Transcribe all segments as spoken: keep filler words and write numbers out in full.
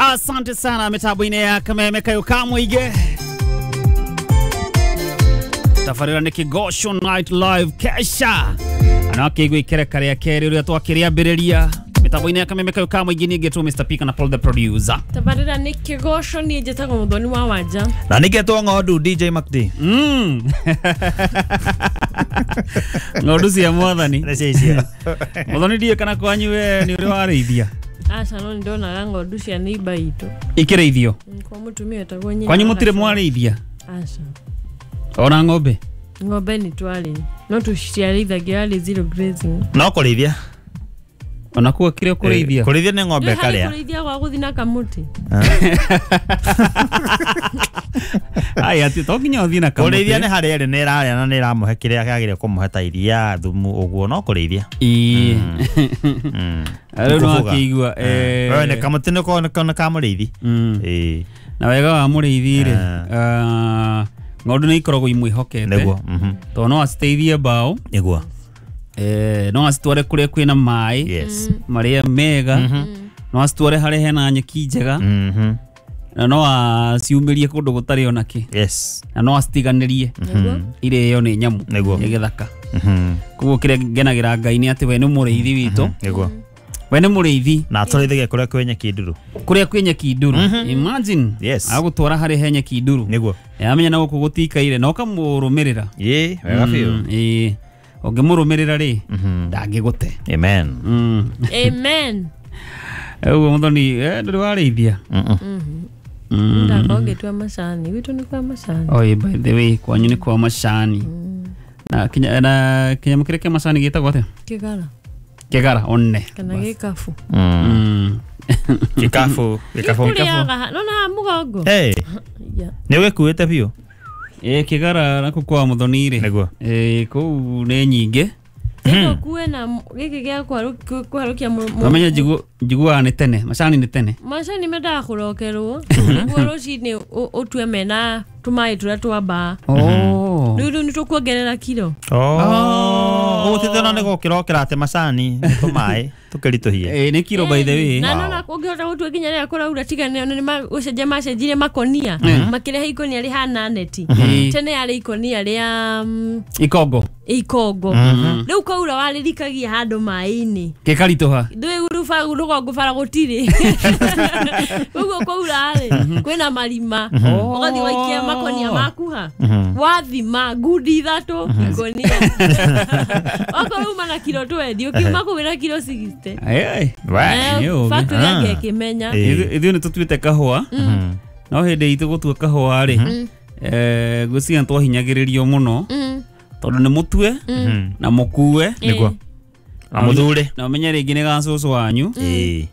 Asante sana mitambo-inĩ ya Kameme Kayo Kamũingĩ. Tabarĩra nĩ Kĩgoco Night Live Kesha. Na akĩigua ikereka rĩa kerĩ ũrĩa twakĩrĩambĩrĩria mitambo-inĩ ya Kameme Kayo Kamũingĩ. Niĩ ngetwo Mister P kana Paul the producer. Tabarĩra nĩ Kĩgoco, niĩ njĩtagwo Mũthoni wa Wanja. Na nĩngetwo Ng'ondu D J MacD. Mm. Ng'ondu cia mwathani. Nĩ icio. Mũthoni ndiĩ kana kwanyu we nĩ ũrĩ warĩithia? Aca, no nĩndonaga ng'ondu cia neighbor itũ. Ikĩrĩithio? Kwa mũtumia wetagwo nyina. Kwanyu mũtirĩ mwarĩithia? Aca. Ona ng'ombe? Ng'ombe nĩ twarĩ, no tũciarĩithagia yarĩ zero grazing. No kũrĩithia. Ona kuo kĩrĩa kũrĩithia? Kũrĩithia nĩ ng'ombe karĩa. Kũrĩithia gwa gũthiĩ na kamũtĩ. Ai ati to nginya ũthiĩ na kamũtĩ. Kũrĩithia nĩ harĩa ĩrĩ nĩ ĩrarĩa na nĩ ĩramũhe kĩrĩa kĩagĩrĩire kũmũhe ta iria, thumu ũguo, no kũrĩithia. Ĩĩ. Rĩu no akĩigua eh nĩ kamũtĩ nĩ ka mũrĩithi. Ĩĩ. Na wega wa mũrĩithi rĩ, ng'ondu nĩ ikoragwo imwĩhokete. Nĩguo. Tondũ no aciteithie mbaũ. Nĩguo. Eh no acitware kũrĩa kwĩna maĩ. Yes. Marĩa mega. No acitware harĩa hena nyeki njega. Na no aciumĩrie kũndũ gũtarĩ ona kĩ. Yes. Na no acitiganĩrie. Irĩo nĩ nyamũ ya gĩthaka. Koguo kĩrĩa ngenagĩra Ngai nĩ atĩ we nĩ mũrĩithi witũ. Nĩguo. We nĩ mũrĩithi. Na atũrĩithagia kũrĩa kwĩ nyeki nduru. Kũrĩa kwĩ nyeki nduru. Imagine. Yes. Agũtwara harĩa he nyeki nduru. Nĩguo. Amenya na gũkũ gũtikaire na ũkamũrũmĩrĩra. Ĩĩ, wega biũ. Ĩĩ. Ũngĩmũrũmĩrĩra rĩ, ndangĩgũte. Amen. Amen. Ũguo Mũthoni, ndũrĩ warĩithia? Ndakorwo ngĩtua macani. Gwitũ nĩ kwa macani. Oi, by the way, kwanyu nĩ kwa macani. Na kinya na kĩnyamũ kĩrĩa kĩa macani gĩtagwo atĩa? Kĩgara. Kĩgara one. Kana gĩkabu. Gĩkabu, gĩkabu. Gĩkũrĩaga, nona haha mũgongo. Hey. Nĩ ũgĩkuĩte biũ? Ĩĩ, kĩgara nakuo kwa Mũthoni rĩ. Nĩguo. Ĩĩ, kũu nĩ nyingĩ. Gĩkũkue na gĩkĩ gĩa kũharũkia. Ũmenye njiguaga nĩ tene, macani nĩ tene. Macani mendaga kũrokerwo nĩguo rũcinĩ ũtue mena tũmaĩ tũrĩa twambaa. Rĩu rĩu nĩ tũkuongerera kiro. Ũgũtĩte ona nĩ gũkĩrokera atĩ macani nĩ tũmaĩ tũkĩritũhie. Ĩĩ, nĩ kiro by the way. Na nona ũngĩhota gũtua nginya rĩrĩa kũraura tiga nĩ gũcenjia macenjirie makonia makĩrehe ikonia rĩhana neti. Tene yarĩ ikonia rĩa ikongo. Ikongo. Rĩu kwaura warĩrikagia handũ maĩ-inĩ. Gĩkaritũha. Ndũĩ rũgongo bara gũtirĩ. Koguo kwaura rĩ kwĩna marima. Ũgathiĩ waikia makonia maku ha. Wathima ngundi ithatũ ikonia. Okorwo uma na kiro twenty ũkiuma kũu wĩna kiro sixty. Ai. Factory yake ĩkĩmenya. Ithuĩ nĩ tũtuĩte kahũa. No hĩndĩ itũ gũtua kahũa rĩ, eh ngwĩciria nĩtwahinyagĩrĩrio mũno. Tondũ nĩ mũtue na mũkue. Nĩguo. Na mũthure. Na ũmenye rĩngĩ nĩ ga cũcũ wanyu.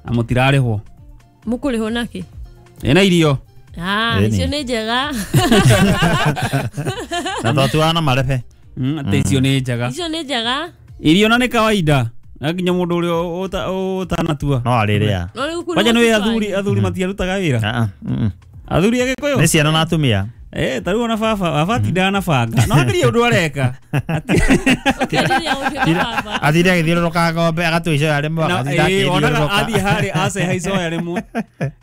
Na mũtirarĩhwo. Mũkũrĩhwo nakĩ? Ĩna irio. Ah, icio nĩ njega. Na twatuaga na marebe. Atĩ icio nĩ njega. Icio nĩ njega. Irio na nĩ kawaida. Na nginya mũndũ ũrĩa ũtanatua. No arĩrĩa. Kwanja nĩ athuri athuri matiarutaga wĩra. Athuri a Gĩkũyũ? Nĩ ciana na atumia. Eh, ta rĩu ona baba, baba atindaga na banga. No agerie ũndũ areka. Athire agĩthiũrũrũka ng'ombe agatua icoya rĩmwe agathinda akĩthiũrũrũka. Athiĩ harĩa aceha icoya rĩmwe.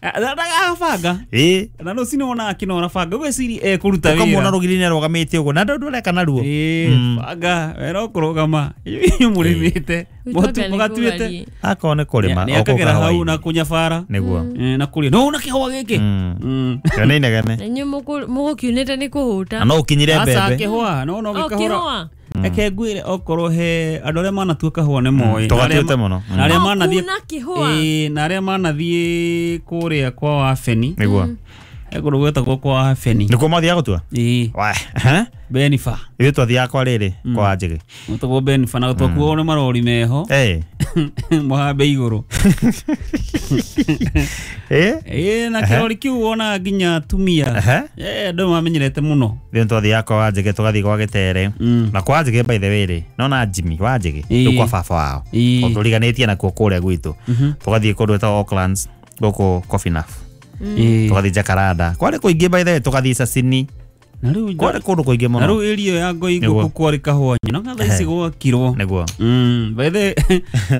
Ndagaga banga. Ĩĩ. Na rũcinĩ wonaga akĩnora banga. Ũgwĩciria ekũruta wĩra. Ũkamwona rũgiri-inĩ arũgamĩte ũguo na ndũndũ areka naruo. Ĩĩ, banga we no kũrũgama. Inyuĩ mũrĩmĩte. Mũgatuĩte. Akorwo nĩ kũrĩma. Nĩ akagera hau na kũnyabara. Nĩguo. Na kũrĩa. No una kĩhũa gĩkĩ. Ĩyo nĩ inegene. Na inyuĩ mũgũkiunĩte nĩ kũhũta. Na no ũkinyire mbembe. Aca kĩhũa, no no gĩkahũra. Reke ngwĩre okorwo he andũ arĩa manatua kahũa nĩ moĩ. Tũgatuĩte mũno. Na arĩa manathiĩ ĩĩ, na arĩa manathiĩ kũrĩa kwa Wabeni. Nĩguo. He kũndũ gwĩtagwo kwa Wabeni. Nĩkuo mathiaga gũtua? Ĩĩ. Wa. Benifa. Ithuĩ twathiaga kwa rĩrĩ kwa Njĩgĩ. Gwĩtagwo Benifa na twakuagwo nĩ marori meho. Ĩĩ. Mũhambe igũrũ. Ĩĩ? Ĩĩ, na kĩrori kĩu wonaga nginya atumia. Ĩĩ, andũ mamenyerete mũno. Ithuĩ twathiaga kwa Njĩgĩ tũgathiĩ kwa Gĩtere. Na kwa Njĩgĩ by the way rĩ, nona Jimmy wa Njĩgĩ rĩu kwa baba wao. Tondũ tũriganĩtie nakuo kũrĩa gwitũ. Tũgathiĩ kũndũ gwĩtagwo Oaklands gũkũ Coffee Enough. Tũgathiĩ Jacaranda. Kwarĩ kũingĩ by the way tũgathiĩ Sasini. Na rĩu Kwarĩ kũndũ kũingĩ na mũno. rĩu area ya Ngoingũkũ Nĩguo. kwarĩ kahũa no thaa ici gwakirwo. Nĩguo. Mm, by the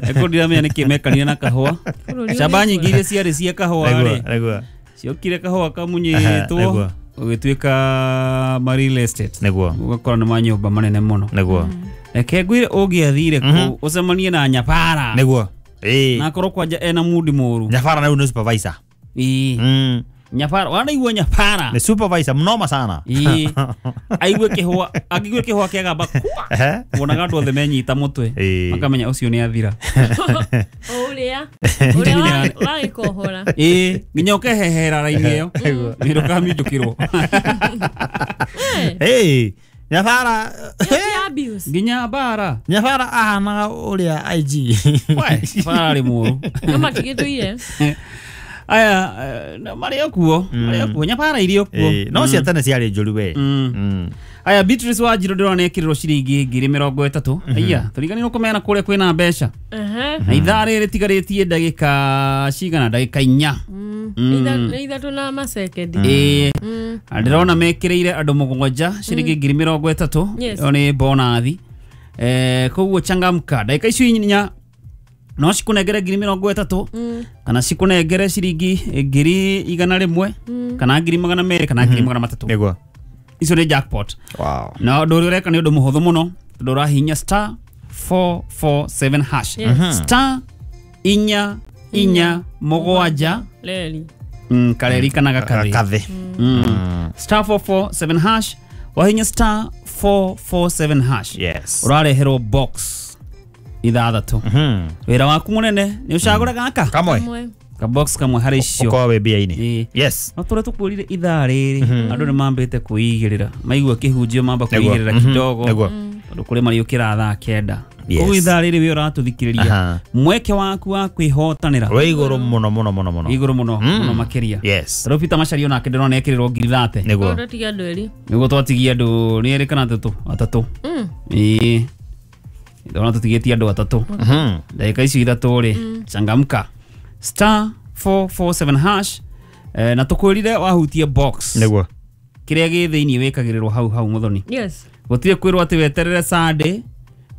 eko ndiramenya nĩkĩ mekanire na kahũa. Bũrũri Camba ũrĩ nyingĩ iria ciarĩ cia kahũa Nĩguo, rĩ nĩguo. ciokire kahũa Aha, kamunyĩtwo nĩguo. ũgĩtuĩka ma real estate. Nĩguo. Ũgakora nĩ manyũmba manene mũno. Nĩguo. Reke ngwĩre ũngĩathire kũu ũcemanie na nyabara. Nĩguo. Ĩĩ. Na akorwo kwanja ena mudi mũru. Nyabara rĩu nĩ supervisor. Ĩĩ. Mm. Nyabara wanaigua nyabara. Nĩ supervisor mnoma sana. Ĩĩ. Aigue kĩhũa angĩgue kĩhũa kĩagamba kwa. Ehe. Wonaga andũ othe menyita mũtwe. Ĩĩ. Makamenya ũcio nĩ athira. O ũrĩa ũrĩa wagĩkohora. Ĩĩ, nginya ũkehehera raini ĩyo. Nĩ ndũkaminjũkĩrwo. Ĩĩ. Nyabara Ĩyo ti abuse. Nginya bara. Nyabara ahanaga ũrĩa I G. We, nyabara arĩ mũru. No matigĩtũire. Aya, eh, na marĩ o kuo, marĩ o kuo, nyabara irĩ o kuo. Ĩĩ, no cia tene ciarĩ njũru we. Mm. Mm. Aya, Beatrice Wanjiru ndĩrona nĩ ekĩrĩrwo ciringi ngiri mĩrongo ĩtatũ. Aya, tũriganĩrwo kũmena kũrĩa kwĩna mbeca. Ehe. Na ithaa rĩrĩ rĩtigarĩtie ndagĩka cigana, ndagĩka inya. Mm. Mm. Itha- nĩ ithatũ na masekendi. Ĩĩ. Mm. Na ndĩrona mekĩrĩire andũ mũgwanja ciringi ngiri mĩrongo ĩtatũ. Yes. Ĩyo nĩ bonathi. Eh, koguo changamka. Ndagĩka icio inya no cikũnengere ngiri mĩrongo ĩtatũ Mm. kana cikũnengere ciringi ngiri igana rĩmwe kana ngiri magana merĩ kana ngiri magana matatũ. Nĩguo. Icio nĩ jackpot. Wow. Na ũndũ ũrĩa ũreka nĩ ũndũ mũhũthũ mũno tondũ ũrahihinya star four four seven hash. Yes. Star inya inya mũgwanja Reri. mm, kareri kana gakathĩ. Gakathĩ. Mm. Star four four seven hash wahinya star four four seven hash. Yes. Ũrareherwo box ithathatũ. Mhm. Wĩra waku mũnene nĩ ũcagũre gaka Kamwe. Kamwe. ka box kamwe harĩ icio. Ũkorwo wĩ mbia-inĩ. Ĩĩ. Yes. No tũrĩa tũkwĩrire ithaa rĩrĩ andũ nĩ mambĩte kwĩigĩrĩra maigua kĩhunjio mamba Nĩguo. kwĩigĩrĩra Mhm. kidogo Nĩguo. tondũ kũrĩ mariũkĩra thaa kenda. Yes. Koguo ithaa rĩrĩ wĩ ũratũthikĩrĩria Aha. mweke waku wa kwĩhotanĩra Wĩ igũrũ mũno mũno mũno mũno. igũrũ mũno mũno makĩria. Yes. Tarĩu Peter Macharia onake ndĩrona ekĩrĩrwo ngiri thate. Nĩguo. Tũtiga andũ erĩ. Nĩguo twatigia andũ nĩ erĩ kana atatũ atatũ. Mm. Ĩĩ. Ndĩrona tũtigĩtie andũ atatũ. Mhm. Ndagĩka icio ithatũ rĩ changamka star four four seven hash eh, na tũkwĩrire wahutie box Nĩguo. kĩrĩa gĩ thĩinĩ wĩkagĩrĩrwo hau hau mũthoni. Yes. Gũtirĩ kwĩrwo atĩ weterere Sunday,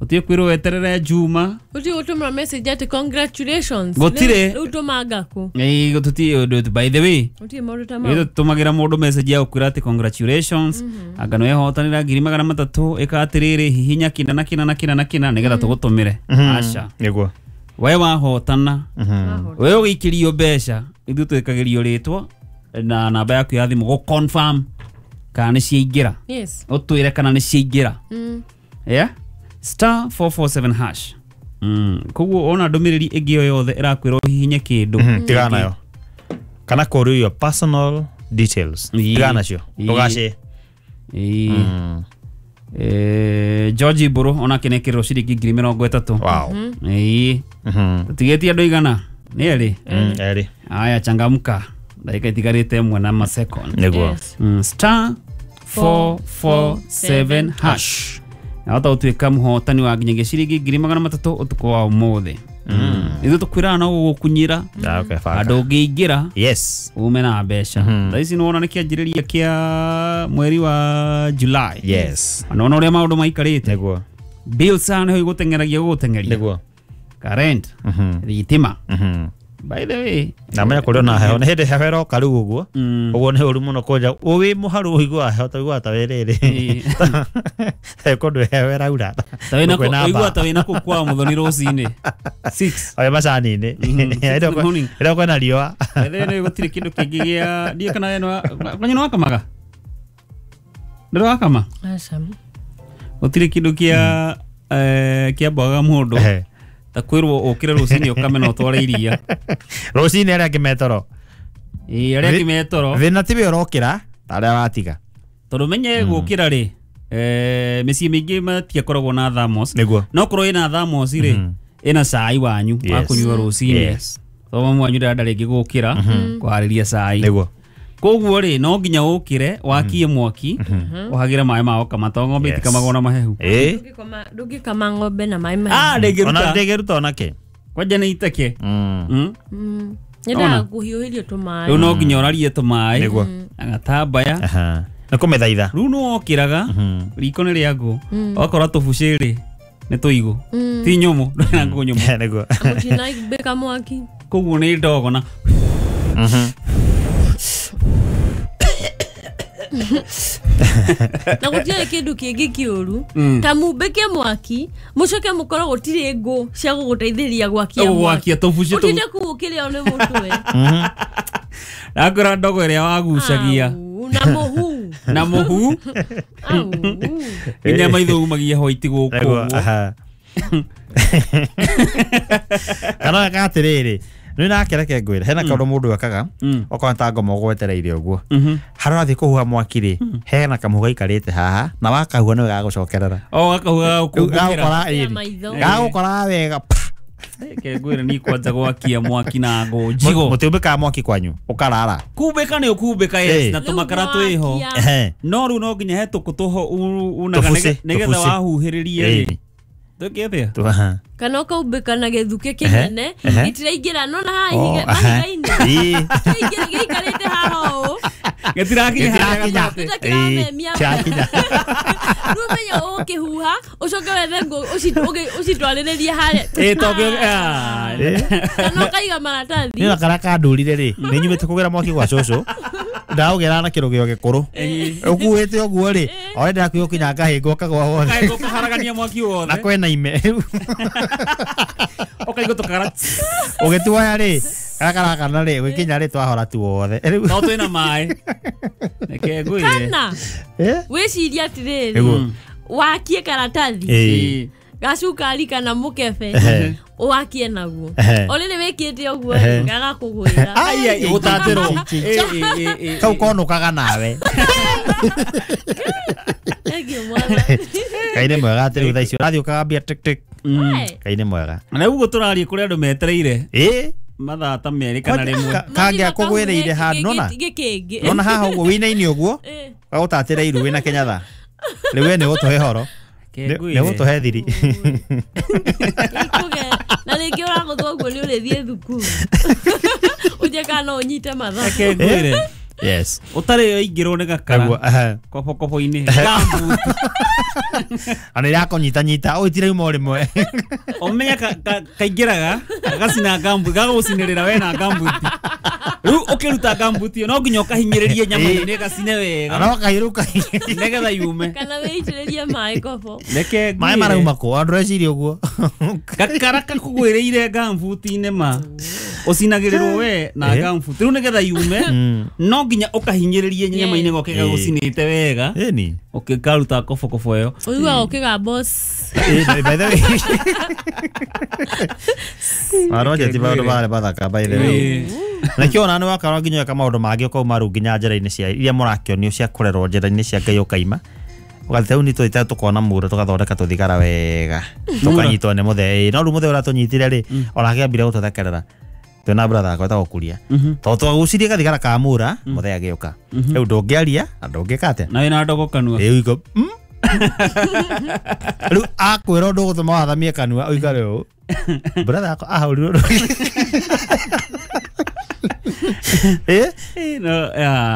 gũtirĩ kwĩrwo weterere Juma. Gũtirĩ gũtũmĩra message atĩ congratulations. Gũtirĩ. Rĩu tũmanga kũ. Ĩĩ, gũtũtirĩ ũndũ by the way Gũtirĩ maũndũ ta mau. ithuĩ tũtũmagĩra mũndũ message ya gũkwĩra atĩ congratulations anga nĩ wehotanĩra ngiri magana matatũ ĩka atĩrĩrĩ hihinya kĩna na kĩna na kĩna na kĩna nĩgetha tũgũtũmĩre. Aca. Nĩguo. We wahotana Mhm. we ũgĩikĩrio mbeca ithuĩ twĩkagĩrio rĩtwa na namba yaku ya thimũ gũ confirm kana nĩ ciaingĩra. Yes. Ũtwĩre kana nĩ ciaingĩra. Mm. Yeah? Star four four seven hash. Mm. Koguo ona ndũmĩrĩri ĩngĩ o yothe ĩrakwĩra ũhihinye kĩndũ. Mhm. Tigana nayo. Kana kũrio your personal details. Ĩĩ. Tigana nacio. Ĩĩ. Ndũgace. Ĩĩ. Mm. Eh, George Mbũrũ onake nĩ ekĩrĩrwo ciringi ngiri mĩrongo ĩtatũ. Wow. Ĩĩ. Mhm. Tũtigĩtie andũ igana nĩ erĩ. Mm, Erĩ. Aya changamka ndagĩka itigarĩte ĩmwe na masecond. Nĩguo. Yes. Mm, star four four seven hash. Nahota gũtuĩka mũhotani wa nginyagia ciringi ngiri magana matatũ ũtukũ wa ũmũthĩ. Ithuĩ tũkwĩraga no gũgũkunyĩra Ah, okay, baka. handũ ũngĩingĩra Yes. ume na mbeca. Thaa ici nĩwona nĩ kĩanjĩrĩria kĩa mweri wa July. Yes. Na nĩwona ũrĩa maũndũ maikarĩte. Nĩguo. Bills haha nĩho igũteng'eragia gũgũteng'eria. Nĩguo. Current, Mhm. thitima. Mhm. By the way, Na menya kũrĩ ona heho nĩ hĩndĩ heho ĩroka rĩu ũguo. mm, Ũguo nĩ ũru mũno kũnja wĩ mũharu ũiguaga heho ta ũiguaga ta wĩ rĩrĩ. Ĩĩ. Kũndũ heho ĩraura. ta wĩna Kwĩna kũ- ũiguaga mbaa. ta wĩna kũu kwa mũthoni rũcinĩ six. Oya macani-inĩ. Mhm, six in the morning. Ĩrĩa kwĩna riũa. By the way, nĩ gũtirĩ kĩndũ kĩngĩ gĩa ndiĩ kana we nĩ kwanya nĩ wakamaga ndĩrĩ wakama Aca. gũtirĩ kĩndũ kĩa eh, kĩa mbogaga mũndũ Ehe. ta kwĩrwo ũkĩre rũcinĩ ũkame na ũtware iria. Rũcinĩ arĩa angĩ metoro. Ĩĩ, arĩa angĩ metoro Thĩna ti we ũrokĩra ta arĩa watiga. tondũ menye gũkĩra rĩ eh, mĩciĩ mĩingĩ matiakoragwo na thermos Nĩguo. no korwo ĩna thermos rĩ ĩna cai wanyu wa Yes. kũnyua rũcinĩ. Yes. Tondũ mamu wanyu ndarenda rĩngĩ gũkĩra kũharĩria cai. Nĩguo. Koguo rĩ no nginya ũkĩre wakie mwaki ũhagĩre maĩ ma gũkama tondũ ng'ombe Yes. itikamagwo na mahehu. Ĩĩ. Ndũngĩkama ndũngĩkama ng'ombe na maĩ mahehu. Ah, Ona ndĩngĩruta ndĩngĩruta onake. kwanja nĩ iteke. Mm. Mm. Mm. Nyendaga kũhiũhĩrio tũmaĩ. Rĩu no nginya ũrarie tũmaĩ Nĩguo. na gatambaya Aha. Nĩ kũmĩthaitha. Rĩu nĩ wokĩraga riko nĩ rĩa ngũ wakora tũbucĩ rĩ nĩ tũigũ ti nyũmũ ndũrĩ na ngũ nyũmũ nĩguo mũtinambĩka mwaki koguo nĩ ndogo na na gũtirĩ kĩndũ kĩngĩ kĩũru ta mumbĩke mwaki mũcoke mũkorwo gũtirĩ ngũ cia gũgũteithĩrĩria gwakia gwakia tũbucĩ tũu ũtinde kũu ũkĩrĩo nĩ mũtwe nakora ndogo ĩrĩa wagucagia na mũhu na mũhu nginya maitho umagia hoiti gũkũ ũguo kana ka atĩrĩrĩ nĩ nake reke ngwĩre hena kaũndũ mũndũ ekaga okorwo ta ngoma ũgwetereire ũguo harĩa ũrathiĩ kũhuha mwaki rĩ hena kamũhu gaikarĩte haha na wakahuha nĩwe gagũcokerera o gakahuha gagũkora gagũkora wega reke ngwĩre ni kwanja gwakia mwaki na ngũ njigo mũtiumbĩkaga mwaki kwanyu ũkarara kumbĩka nĩ ũkumbĩka yes na tũmakara twĩho no rĩu no nginya he tũkũ tũho unaga nĩgetha wahuhĩrĩrie rĩ twĩke atĩa kana ũkaumbĩka na gĩthukĩ kĩnene gĩtiraingĩra nona haha mahiga-inĩ kĩingĩra gĩikarĩte haha ũũ gĩtirakinya harĩa gatagatĩ gĩtiramemia rĩu ũmenye ũkĩhuha ũcoke wethe ngũ ũcitwarĩrĩrie harĩa ĩ tondũ kana ũkaiga maratathi nĩ na karĩa kandũrire rĩ nĩ nyumĩte kũgĩra mwaki gwa cũcũ ndaũgĩra na kĩrũgĩo gĩkũrũ ũkuĩte ũguo rĩ o ndĩrakuĩ ũkinya ngahĩngwo kagwa wothe ngahĩngwo kaharagania mwaki wothe na kwĩna ime ũkaigua tũkara ũgĩtuoya rĩ karĩa karakana rĩ ũgĩkinya rĩ twahora tu wothe no twĩna maĩ reke ngwĩre kana wĩcirie atĩrĩrĩ wakie karatathi gacukari kana mũkebe wakie naguo o rĩrĩ wĩkĩte ũguo gagakũgwĩra ai gũtatĩrwo kau konũkaga nawe Ngai nĩ mwega atĩ rĩu thaa ici ũrathiĩ ũkagambia tik tik Ngai nĩ mwega na ũguo tũraria kũrĩ andũ metereire ĩ mathaa ta merĩ kana rĩmwe kangĩa kũgwĩrĩire handũ nona nona haha ũguo wĩinaine ũguo gagũtatĩra iru wĩna Kenyatha rĩu we nĩ ũgũtũhe horo nĩ ũgũtũhe thiri na rĩngĩ ũragũthwo ũguo nĩ ũrĩthiĩ thukuru ũnje kana no ũnyite mathaa reke ngwĩre yes ũtarĩ ũingĩrwo nĩ gakara kobokobo-inĩ gambuti ana ĩrakũnyitanyita ũitirauma o rĩmwe ũmenye kaingĩraga gagacina gambuti gagagũcinĩrĩra we na gambuti rĩu ũkĩruta gambuti ĩyo no nginya ũkahinyĩrĩrie nyama-inĩ ĩgacine wega no kahiruka nĩgetha yume kana wĩitĩrĩrie maĩ kobo reke maĩ marauma kũ andũ reciria ũguo gakara kakũgwĩrĩire gambuti-inĩ ma ũcinagĩrĩrwo we na gambuti rĩu nĩgetha yume no nginya ũkahinyĩrĩrie nyama-inĩ goke gagũcinĩte wega ĩni ũkĩkaruta kobokobo ĩyo ũiguaga ũkĩga boss by the way Maroja ti maũndũ marĩ mathaka by the way nakĩo ona nĩ wakorwo nginya weka maũndũ mangĩ ũkauma rĩu nginya njĩra-inĩ cia iria mũrakĩonio cia kũrerwo njĩra-inĩ cia Ngai ũkaima ũgathiĩ rĩu nĩ tũthiĩte tũkona mũra tũgathondeka tũthigara wega tũkanyitwo nĩ mũthee no rĩu mũthee ũrĩa tũnyitire rĩ onake ambire gũtũthekerera twĩna brother akwa etagwo Kuria tondũ twagucirie gathigara ka mũra mũthee agĩũka rĩu ndũngĩaria na ndũngĩka atĩa na wĩna ndogo kanua rĩu iko rĩu akwĩra ũndũ ũgũtũma wathamie kanua ũikare ũũ brother akwa ahũrirwo eh no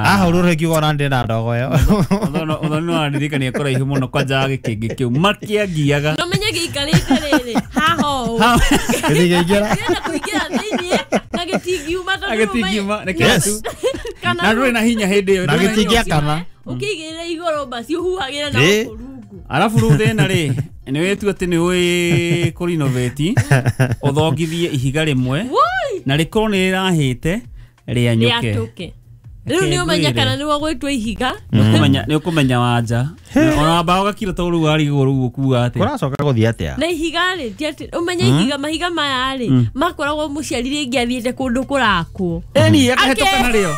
ahũrirwo rĩngĩ ona ndĩ na ndogo ĩyo ũthoni no wandirikania kũraihu mũno kwanja gĩkĩngĩ kĩu makĩangiaga no menye gĩikarĩte rĩrĩ haha ũũ gĩtingĩingĩra kĩrenda kũingĩra thĩiniĩ na gĩtingiuma tondũ gĩtingiuma nĩkĩo na ndũrĩ na hinya hĩndĩ ĩyo na gĩtingĩakana ũkĩigĩrĩra igũrũ basi ũhuhagĩra na gũkũ rungu arabu rĩu thĩna rĩ nĩ wĩtua atĩ nĩ ũĩ kũrinovate ũthongithie ihiga rĩmwe na rĩkorwo nĩ rĩrahĩte rĩanyũke rĩatũke rĩu nĩ ũmenya kana nĩ wagwĩtwo ihiga nĩ ũkũmenya wanja ona wamba ũgakira to rĩu warigwo rĩu ũkuga atĩa kũracoka gũthiĩ atĩa na ihiga rĩ ti atĩ ũmenye ihiga mahiga maya rĩ makoragwo mũciari rĩngĩ athiĩte kũndũ kũrakwo ĩni akahĩtũka narĩo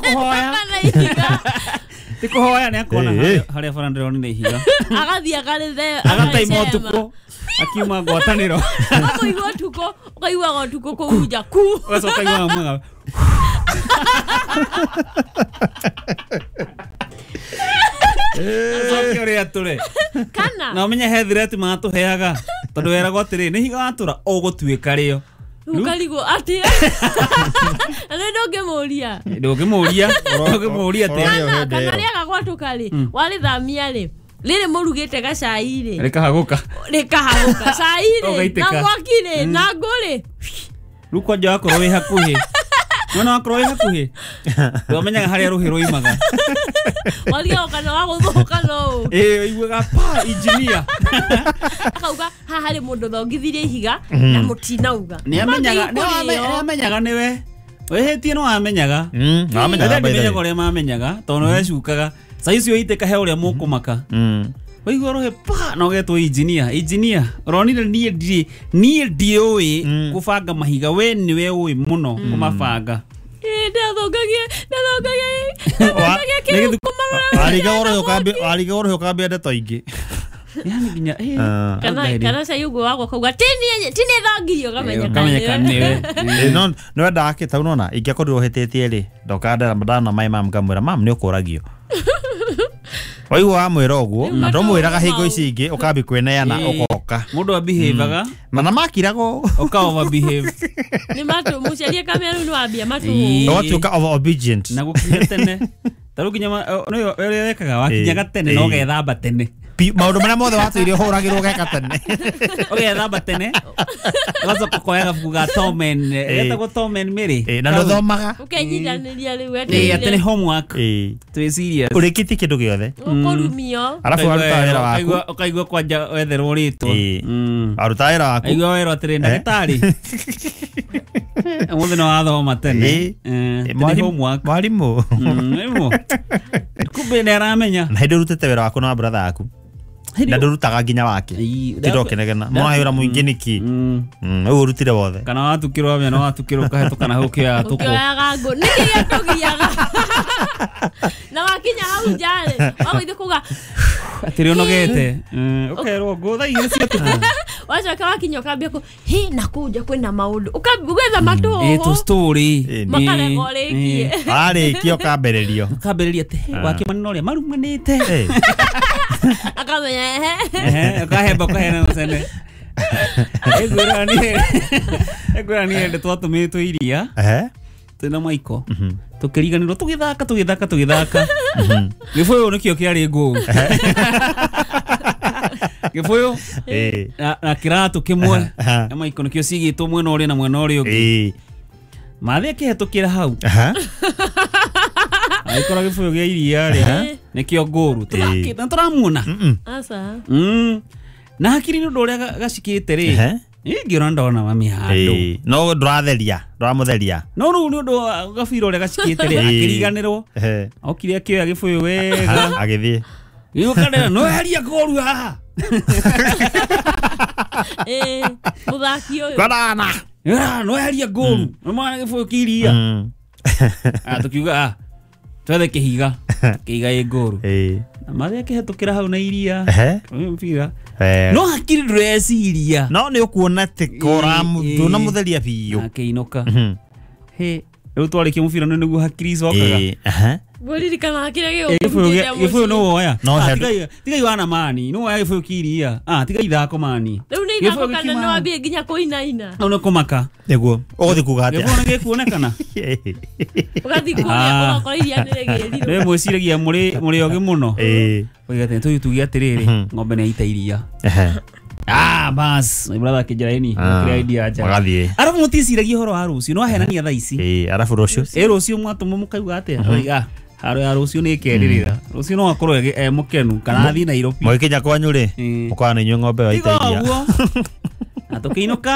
kũhoya ti kũhoya nĩ akona harĩa bara ndĩronire ihiga agathiĩ akarĩthe agataima ũtukũ akiuma ngwatanĩro ũkaigua ũtukũ ũkaiguaga ũtukũ kũu nja ku ũgacoka ũkaiguaga mwega Acoke ũrĩa atũre kana na ũmenye he thireti matũheaga tondũ weragwo atĩrĩ nĩ ihiga watũra ũgũtuĩka rĩo Ukarigwo atia na nĩ ndũngĩmũria ndũngĩmũria ndũngĩmũria atĩa kana kana rĩaga gwatũka rĩ warĩthamia rĩ rĩrĩ mũrugĩte gacai rĩ rĩkahagũka rĩkahagũka cai rĩ Ũgaitĩka. na mwaki rĩ na ngũ rĩ rĩu kwanja wakorwo wĩ hakuhĩ nona wakorwo wĩ hakuhĩ ndwamenyaga harĩa rũhĩ rũimaga warigago kana wagũthũka no ũũ ĩĩ ũiguaga pa engineer akauga haha harĩ mũndũ thongithirie ihiga na mũtinauga nĩamenyaga Mangĩgĩ kũrĩo. nĩamenyaga nĩwe wĩhĩtie no amenyaga Mm, amenyaga Rĩrĩa by the ndimenyaga way. ũrĩa mamenyaga tondũ nĩwe cukaga cai icio itĩka he ũrĩa mũkũmaka Mm. waigua rũhĩ pa na ũgetwo engineer engineer ũronire niĩ ndirĩ niĩ ndiũĩ gũbanga mahiga we nĩwe ũĩ mũno kũmabanga Ĩ, ndathongagia ndathongagia ndathongagia Nĩ kĩrũkũ marora Wariga ũrũhĩ ũkambia wariga ũrũhĩ ũkambia ndeto ingĩ. yani nginya ĩ, Ah. kana anga kana cai ũguo wagwa kauga tini tini thongirio ũkamenya ũkamenya kana nĩwe Ĩ, no nĩ wendaga kĩ tau nona ingĩakorirwo hĩtĩtie rĩ ndoka ndana mai mam ngamwĩra mam nĩ ũkũragio waigua wamwĩra ũguo na ndũmwĩraga hingo ici ingĩ ũkambi kwĩneana Ĩ. ũgoka mũndũ abehavaga mana makirago ũka overbehave nĩ matũ mũciari kamera rĩu nĩ wambia matũ Ĩ. ũgatuĩka over obedient na gũkinya tene ta rĩu nginya ma- o- nĩwe ũrĩa wekaga wakinyaga tene na Ĩ. ũgethamba tene Pi- maũndũ marĩa mothe watũire ũhũragĩrwo ũgeka tene ũgethamba tene ũgacoka ũkoya gabuku ga Tom and getagwo Tom and Mary Ĩ, na ndũthomaga ũkenyitanĩria rĩu Ĩ, atĩ nĩ homework Ĩ. twĩ serious ũrĩkĩtie kĩndũ gĩothe ũkũrumio arabu waruta wĩra waku Ũkaigua- ũkaigua kwanja wetherwo rĩtwa Ĩ. Mm. waruta wĩra waku aigua werwo atĩrĩ ndagĩtarĩ ũmũthĩ nĩ wathoma tene Ĩ. Eh, Ĩ, atĩ nĩ mwarimu- homework mwarimũ Mm, nĩguo. kumbe nĩ aramenya na hĩndĩ ũrutĩte wĩra waku na wa brother yaku na ndũrutaga nginya wake Ĩ, tinda ũkĩnegena mũrahĩra mũingĩ nĩkĩ Mm. Mm, ũguo ũrutire wothe kana watukĩrwo amenya no watukĩrwo ũkahĩtũka na hau ũkĩoyaga tũkũ ũkĩoyaga ngũ nĩkĩ gĩatũgiaga na wakinya hau njarĩ wagũithiĩ kuga atĩrĩ ũnogete Mm, ũkerwo ngũ thaa igĩrĩ cia ũtukũ wacoka wakinya ũkambia kũ hi na kũu nja kwĩna maũndũ Ũkambia ũgetha ĩ tũ matũhũhũ story Ĩ, makarega ũrĩkie warĩkia ũkambĩrĩrio ũkambĩrĩria atĩ "He, wakĩmani na ũrĩa marumanĩte Ĩ. akamenya ehe Ehe, ũkahemba ũkaheana mũcene ĩngwĩra niĩ ĩngwĩra niĩ hĩndĩ twatũmĩtwo iria Ehe. twĩna Michael tũkĩriganĩrwo tũgĩthaka tũgĩthaka tũgĩthaka gĩbũyũ nĩkĩo kĩarĩ ngũũ gĩbũyũ Ĩ. na na kĩratũ kĩmwe Aha. na Michael nĩkĩo cigĩtwo mwena ũrĩa na mwena ũrĩa ũngĩ Ĩ. mathĩ akĩhetũkĩra hau Aha. agĩkora gĩbũyũ gĩa iria rĩ nĩkĩo ngũru tũthakĩte na tũramuona Mm-mm. aca Mm. na hakiri nĩ ũndũ ũrĩa ga- gacikĩte rĩ Ehe. ingĩona ndona mami handũ Ĩ. No ndũratheria ndũramũtheria no rĩu nĩ ũndũ wa gabira ũrĩa gacikĩte rĩ Ĩ. akĩriganĩrwo Ehe. okire akĩoya gĩbũyũ wega Aha, agĩthiĩ gĩũkanĩra no eheria ngũru haha ĩ mũthaki ũyũ kwanana Ah, no eheria ngũru nĩ mwana gĩbũyũ kĩa iria Mm. Ah, tũkiuga ah, twethe kĩhiga kĩhiga ĩ ngũru Ĩ. na marĩa akĩhetũkĩra hau na iria Ehe. ũyũ mũbira Wega. no hakiri ndũreciria no nĩ ũkuona atĩ Ĩ, ĩ. ndũnamũtheria biũ akĩinũka Mhm. Hĩ, rĩu twarĩkia mũbira nĩ nĩguo hakiri icokaga Ĩ, aha. ngũririkana kĩrĩa Ĩ, gĩbũyũ gĩa- gĩbũyũ nĩ woya No, Ah, he- tigai- tigai wana mani nĩ woya gĩbũyũ kĩa iria Ah, tigai ithako mani rĩu nĩ Gĩbũyũ ithako kana gĩkiuma- nĩ wambie nginya kũinaina Hau nĩ kũmaka nĩguo ũgũthiĩ kuga atĩa gĩbũyũ nĩ gĩkuonekana ũgathiĩ kũrĩa Ah. ũgakora iria nĩ rĩgĩrirwo nĩ mwĩciragia mũrĩ mũrĩ ogĩ mũno Ĩ. oiga atĩ tũyũ tuge atĩrĩrĩ Mhm. ng'ombe nĩ yaita iria Ehe. ah bas my brother akĩnjĩra ĩni Ah, kĩrĩa idea njega magathiĩ arabu mũticiragia ũhoro wa rũciũ no ahenania thaa ici Ĩ, arabu rũciũ ĩ rũciũ mwatũmwo mũkauga atĩa oiga haro ya rũciũ nĩ ĩkerĩrĩra rũciũ no akorwo ĩ- e mũkenu kana athiĩ Nairobi mũgĩkinya kwanyu rĩ Ĩ. mũkona nĩ inyuĩ ng'ombe ĩyo tiga yaita iria ũguo na tũkĩinũka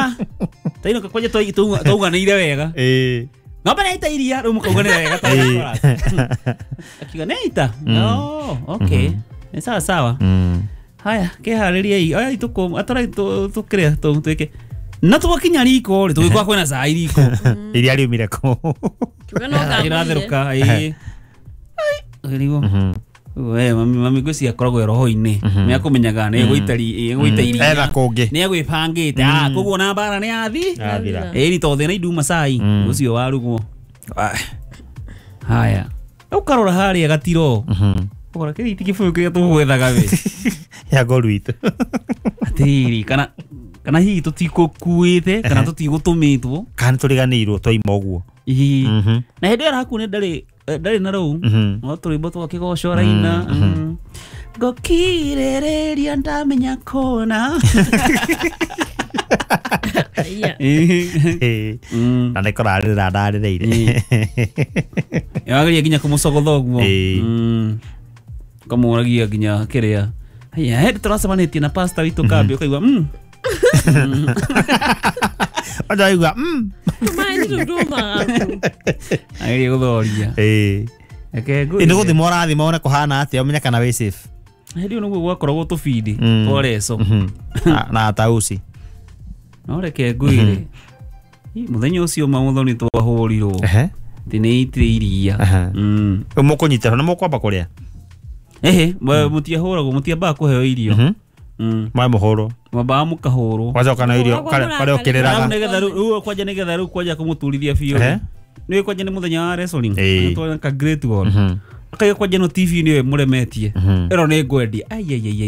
twainũka kwanja twai- twau- twauganĩire wega Ĩ. ng'ombe nĩ yaita iria rĩu mũkauganĩra wega ta Ĩ. akiuga nĩ yaita oh okay nĩ sawa sawa Mm. haya kĩharĩriei oya itũkũ atwarai tũkĩrĩa tũ twĩke na twakinya riko rĩ tũgĩkora kwĩna cai riko iria riumire kũ Kiuga no ngamũrire. ĩratherũka ĩĩ ũgĩrigwo we mami mami ngwĩciria akoragwo e roho-inĩ nĩ akũmenyaga nĩ egũita ri- egũita iria etha kũngĩ nĩ egwĩbangĩte ah koguo ona mbara nĩ yathi Yathira. ĩni tondũ thĩna induma cai Mm. ũcio warugwo haya ũkarora harĩa gatiro Mhm. ũkora kĩrĩa ti kĩbũyũ kĩrĩa tũgwethaga we ya ngoru itũ atĩrĩrĩ kana Kana hihi tũtikũkuĩte kana tũtigũtũmĩtwo. Kana tũriganĩirwo twaima ũguo. Ĩĩ. Mhm. Na hĩndĩ ĩyo arakuo ndarĩ ndarĩ na rũu. Mhm. No tũrwĩmbo twa kĩgoco araina. Mm. Ngũkirĩrĩria ndamenya kona. Aya. Ĩĩ. Mm. Na nĩkũrarĩrĩra ndarĩrĩire. Yageria nginya kũmũcogotha ũguo. Ĩĩ. Mm. Kamũragia nginya kĩrĩa. Haya, hĩndĩ tũracemanĩtie na pastor witũ kambi ũkaigua mm. Ũnjaigua mm. Tũmaĩ nĩ tũtũmaga tu. Ageria gũthoria. Ĩĩ. Reke Ĩ ngwĩre. nĩ gũthima ũrathima wone kũhana atĩa ũmenye kana wĩ safe. Hĩndĩ ĩyo nĩguo gwakoragwo tũbindi Mm. twa reco. Mhm. Na- na tausi. No reke ngwĩre. Ĩ, mũthenya ũcio ma mũthoni twahũrirwo. Ehe. Atĩ nĩ itire iria. Aha. Mm. Rĩu mũkũnyitĩrwo nĩ mũkwamba kũrĩa. Ehe, mũtiahũragwo, mũtiambaga kũheo irio. Mhm. Mm. Mwae mũhũrwo. Mwambaga mũkahũrwo. Wacoka na irio Mũhũragwo karĩa karĩa mũrakarĩra. ũkĩrĩraga. Rĩu nĩgetha rĩu rĩu kwanja nĩgetha rĩu kwanja kũmũturithia biũ. Ehe. Nĩ kwanja nĩ mũthenya wa wrestling. Ĩĩ. Nĩ ka Great Wall. Mhm. Akaiga kwanja no T V nĩwe mũremetie. Mhm. Ĩno nĩ ngwendia. Ai ai ai ai.